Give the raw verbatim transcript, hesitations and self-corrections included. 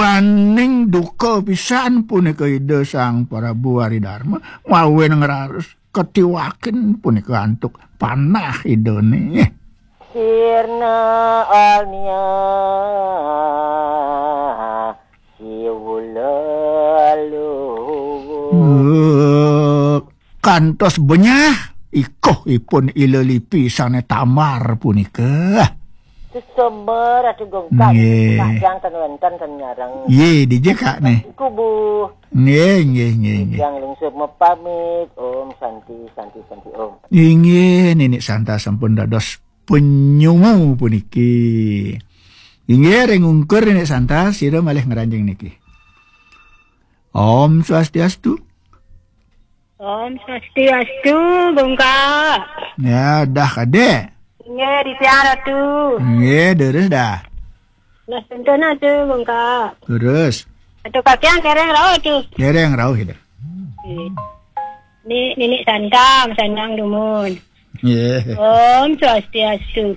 Paning duka pisan punika Ida Sang Prabu Ari Darma, mawen ngraos katiwakin punika antuk panah Idane. Sirna alnia siwula luwu. Eh, kantos benyah ikuhipun Ila Lipi sane tamar punika. Sesama Ratu Gungkang. Nggih. Kadang ten wenten ten nyareng. Nggih, dija, Kak, nih. Kubu. Nggih, nggih, nggih, nggih. Yang lungsur mepamit. Om Santi, Santi, Santi, Om. Inggih, Ninik Santa sampun dados penyungu puniki. Inggih, ring ungkur Ninik Santa, sira malih ngranjing niki. Om Swastiastu. Om Swastiastu, Bungka. Ya, dah kadek. Nggih, di tiang Ratu. Nggih, terus dah. Nah, contohnya tu, Bungka. Terus. Atau kakian kereng rau tu. Kereng rau kita. Nggih. Ni, Ninik Santa, sanang dumun. Nggih. Om Swastiastu.